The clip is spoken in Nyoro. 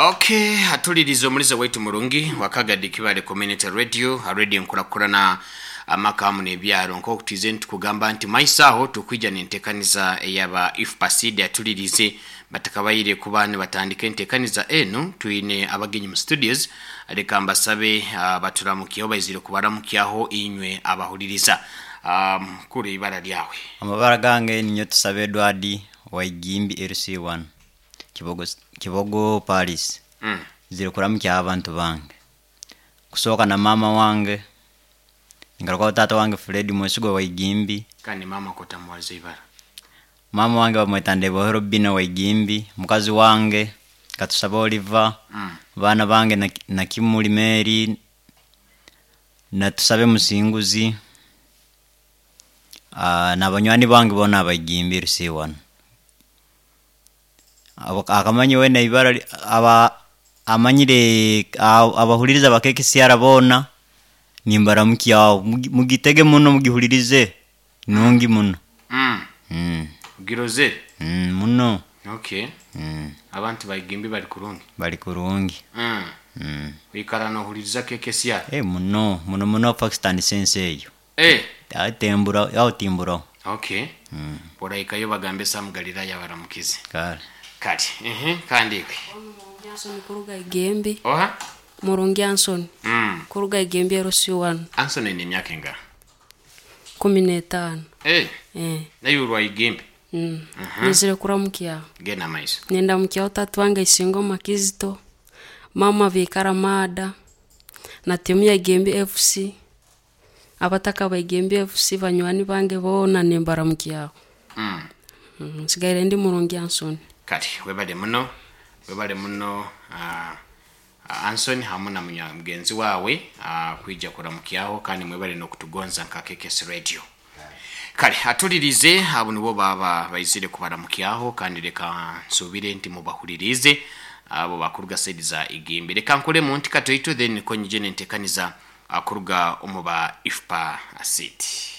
Okay, atulirize omuliza waitu murungi wakagadi Kibale Community Radio, radio nkurakurana amaka hamu n'ebyaro. Nk'oku twize nitukugamba nti maiso aho tukwija n'entekaniza eyaba IFPA atulirize batakabaire kuba nibatandika entekaniza enu. Twine abagenyi mu studios, leka mbasabe baturamukyeho, baizire kubaramukyaho inywe abahuliriza. Kuri ibara lyawe? Amabara gange ninyo Tusabe Edward Waigimbi LC1 Kibogo, Kibogo Paris. Ziri kuramukya abantu bange, kusooka na mama wange, ngarukaho tata wange Fred Mwesigwa Waigimbi. Kandi mama kotamuwaza ibara? Mama wange bamweta Ndebohero Bina Waigimbi, mukazi wange Katusaba Oliver, baana bange na Kimuli Mary na Tusabe Musinguzi, n'abanywani bange boona Abaigimbi LC1. Akamanyi wena ibara aba amanyire abahuliriza bakekisiara boona nimbaramukyaho. Mugitege muno, mugihulirize, nungi muno. Giroze? Muno. Okay. Abantu Baigimbi bali kurungi? Bali kurungi. Wikara nohuliriza KKCR? Muno muno muno, Pakistan sense eyo. Atembura aho timburaho. Okay. Oraikayo bagambe Sam Galilaya baramukize. Kale. Kati kandi iwe? Murungi Anson kuruga Igembe. Oha? Murungi Anson. Kuruga Igembe LC1. Anson ni emyaka enga? 15. Nayo urwa Igembe? Nizire kuramukya. Genda maiso. Nenda mukyaho tatu wange Isingoma Kizito, mama Vikara Mada, na timu ya Igembe FC, abataka ba Igembe FC, banywani bange boona nimbaramukyaho. Nsigaire ndi Murungi Anson. Kati webale muno, webale muno, Anson hamu na mugenzi wawe kwija kuramukyaho, kandi mwebale n'okutugonza nka KKS Radio. Kale atulirize, abo nibo baba baizire kubaramukyaho, kandi leka nsubire nti mubahulirize abo bakuruga side za Igimbi. Leka nkolemu nti katoito, then niko nyije nentekaniza akuruga omu ba IFPA City.